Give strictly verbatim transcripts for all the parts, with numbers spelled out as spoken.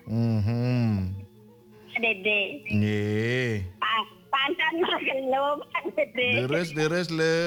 Mhm. Pak Dede. Nggih. Panten makelo, Pak Dede. Leres, leres, le.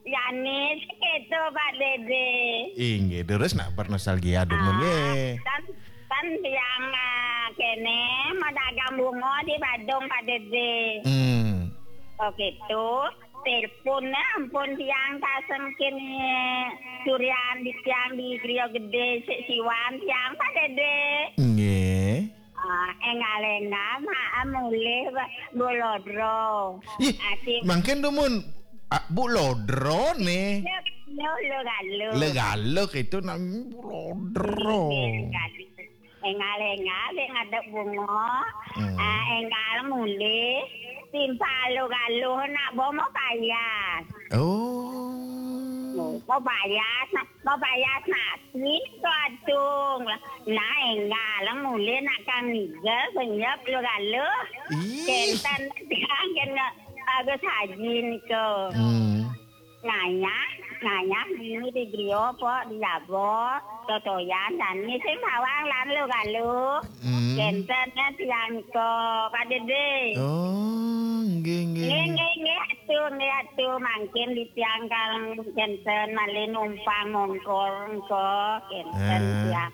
Yani seketo, Pak Dede. Inggih, leres nak bernostalgia dumun, nggih. Kan, kan tiang, ah, kene madagang bunga di Badung, Pak Dede. Hmm. Oke, tuh. Telepon, eh, ampun tiang kasengkin, eh, durian di tiang di Griya Gedhe sik siwan tiang, Pak Dede. Nggih. Ah, engal-engal, mak, ah, mulih, Mbok Lodro. Ih, mangkin dumun, ah, Mbok Lodro ne. Lho, lho, lho. Le Galuh itu nang Mbok Lodro. Nggih, nggih. Engal-engal, sik ngadep bunga. Hmm. Ah, engal mulih, timpal Lho Galuh nak bo mau payas. Oh. Mau payas, nak, mau payas nasi, tuh adung. Nah, engal mulih nak kang nigel, senyap Lho Galuh. Ih. Kenten tiang kena bagus haji niku. Hmm. Ngayah, ngayah ini di griya apa di jaba, totoyan dan sing bawang lan Lho Galuh. Hmm. Kenten ya tiang nika, Pak Dede. Oh, nggih, nggih, nggih, nggih. Nggih, nggih, atu, nggih, atu. Mangkin di tiang kang kenten malih numpang mongkol engko, kenten. Ah. Tiang.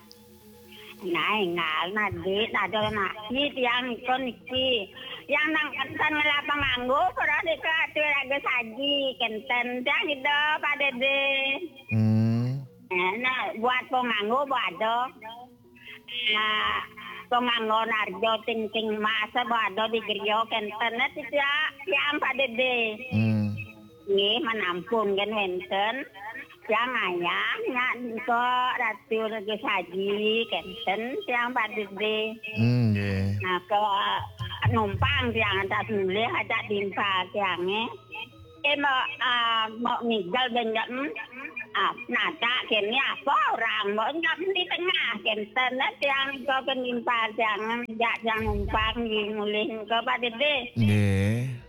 Nah, engal, nah, Dik, nah, ada nasi tiang nika niki. Yang nang kenten ngelapang nganggo, para deka atu raga saji, kenten tiang ida, Pak Dede. Hmm. Eh, nah, buat penganggo, buat ada. Nah, penganggo narjo ting-ting mas, buat ada di griya, kenten, nah, tiang, tiang, Pak Dede. Hmm. Nggih, menampun kan wenten. Tiang ayah, nyak nika Ratu Raja Saji, kenten tiang Pak Dede. Hmm, nggih. Nah, ke numpang tiang atas mulih ajak timpal tiange. Eh, mau, ah, mau nigel ben jam, ah, nata kene apa orang, mau jam di tengah, kenten lah tiang ke penimpal tiang, jak tiang numpang di mulih ke Pak Dede. Nggih.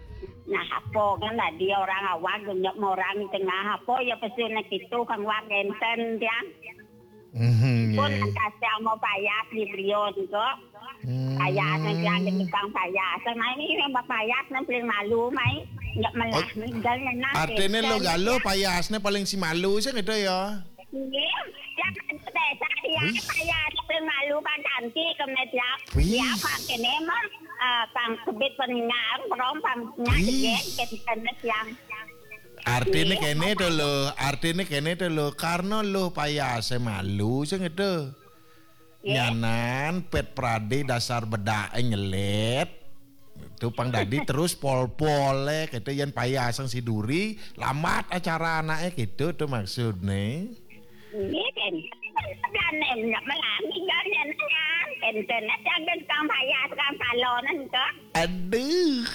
Nah, apa kan tadi orang awak genjok orang di tengah apa ya pesune gitu kan wak enten tiang. Mhm, pun nggih. Kasih mau payas di Brion kok. Hmm. Payas nanti ada tukang payas. Nah, ini yang payas nang paling malu, mai. Nggak melah, oh, ninggal nyenang, artine enten. Lho Galuh payasne paling si malu sing itu ya. Nggih, ya, kan, desa dia, wih, payas paling malu, kan, cantik, kemudian dia, wih, dia pakai nemang, eh, pang sebit peninggal, perong, pang, wih, nyajet, kenten tiang. Artine, iya, kene to lho, artine kene to lho, karena lho payase malu sing itu. Nggih. Nyanan pet prade dasar bedake nyelet. Itu pang dadi terus pol-pole gitu yen payasang si duri, lambat acara anake gitu tuh maksudne. Nggih, ten. Sebenarnya melani kan enten, enten, enten, kang payas, kang palonan kok. Aduh.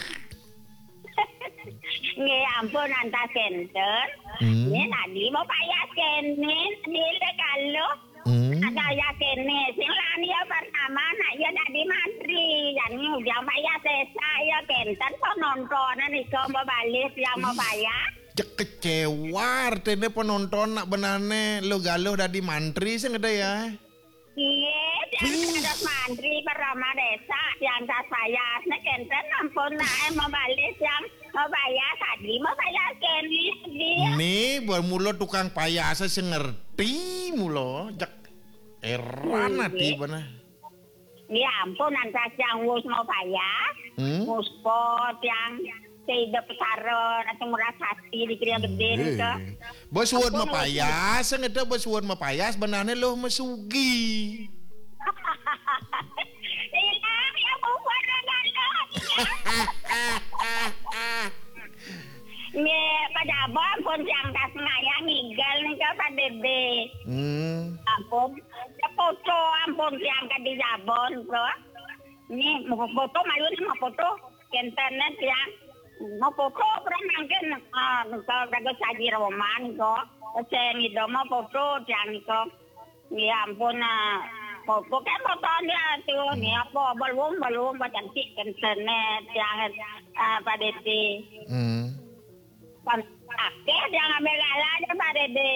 Nggih, ampun, antas kenten. Hmm. Nggih, tadi mau payas kene, dile kalau. Hmm. Ada ya kene, sing lani ya pertama, nak ya dadi mantri. Yang udah payas sesa ya kenten, kok nontonan iso mau balik, yang mau payas. Cek kecewa, artine penonton nak benane Lho Galuh dadi mantri sing ada ya. Iya, yang terus mantri pertama desa, yang tas payas, nek enten ampun, nak, eh, mau balik yang mau payas tadi, mau payas kene, dia. Nih, bermula tukang payas sing ngerti mula, jek eran ati bener. Ya ampun, antas yang wis mau payas, hmm? Wis po yang tidak pesaron atau murah hati di Griya Gedhe nika. Bos suwun mapayas, sing ada bos suwun mapayas, benane loh mesugi. Iya, ya bukan dengan lo. Nggih, Pak Jabon pun tiang tas ngayah ninggal nika Pak Dede. Hmm. Ampun, ya foto ampun tiang ke di Jabon, bro. Ini mau foto, mayu nih mau foto. Kenten tiang. Mau foto, bro, mungkin, ah, kalau kagak saji roman kok. Saya ngido mau foto tiang kok. Ya ampun, ah. Foto kan fotonya tuh, nih apa, belum, belum, apa cantik kenten tiang, ah, Pak Dede. Hmm. Kan akeh yang ambil lala aja, Pak Dede.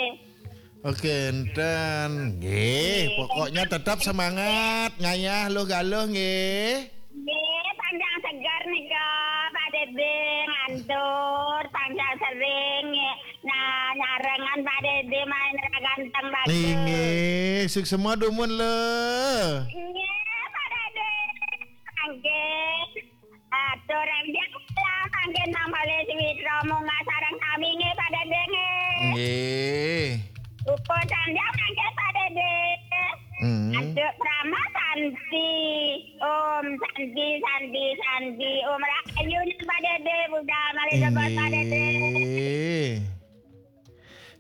Oke, enten. Nggih, pokoknya tetap semangat, ngayah luh galuh nggih. Nggih, panjang seger nika, Pak Dede ngantur, panjang sering nggih. Nah, nyarengan Pak Dede main ra ganteng bagus. Nggih, suksma dumun lho. Nggih, Pak Dede. Nggih. Atur yang biasa, mangkin Mang Bale Switra munggah sareng sami nggih, Pak Dede nggih. Nggih. Upo sanjang mangkin, Pak Dede. Hmm. Aduh, Prama Santi. Om Santi, Santi, Santi. Om Rahayu nih, Pak Dede, budal malih lebet, Pak Dede. Nggih.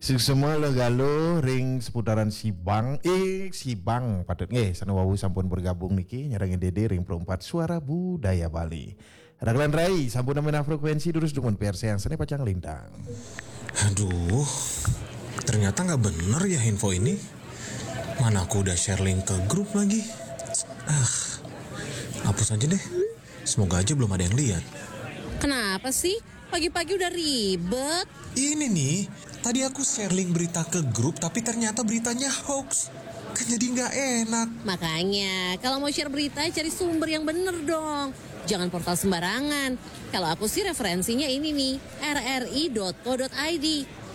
Suksma luh galuh ring seputaran Sibang, eh Sibang patut nggih, sane wau sampun bergabung niki nyarengin Dede ring Pro empat Suara Budaya Bali. Raglan Rai, sampun nemen frekuensi durus dumun P R C yang sene pacang lintang. Aduh, ternyata nggak bener ya info ini. Mana aku udah share link ke grup lagi. Ah, hapus aja deh. Semoga aja belum ada yang lihat. Kenapa sih? Pagi-pagi udah ribet. Ini nih, tadi aku share link berita ke grup tapi ternyata beritanya hoax. Kan jadi nggak enak. Makanya, kalau mau share berita, cari sumber yang bener dong. Jangan portal sembarangan. Kalau aku sih referensinya ini nih, rri.co.id.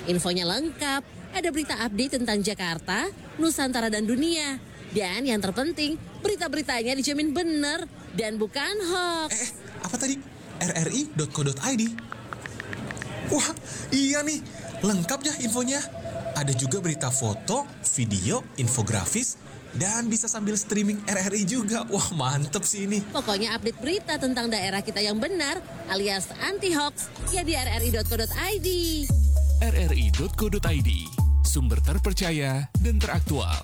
Infonya lengkap, ada berita update tentang Jakarta, Nusantara dan dunia. Dan yang terpenting, berita-beritanya dijamin bener dan bukan hoax. Eh, apa tadi? rri.co.id. Wah, iya nih, lengkap ya infonya. Ada juga berita foto, video, infografis, dan bisa sambil streaming R R I juga. Wah, mantep sih ini. Pokoknya update berita tentang daerah kita yang benar alias anti hoax ya di rri.co.id. rri.co.id, sumber terpercaya dan teraktual.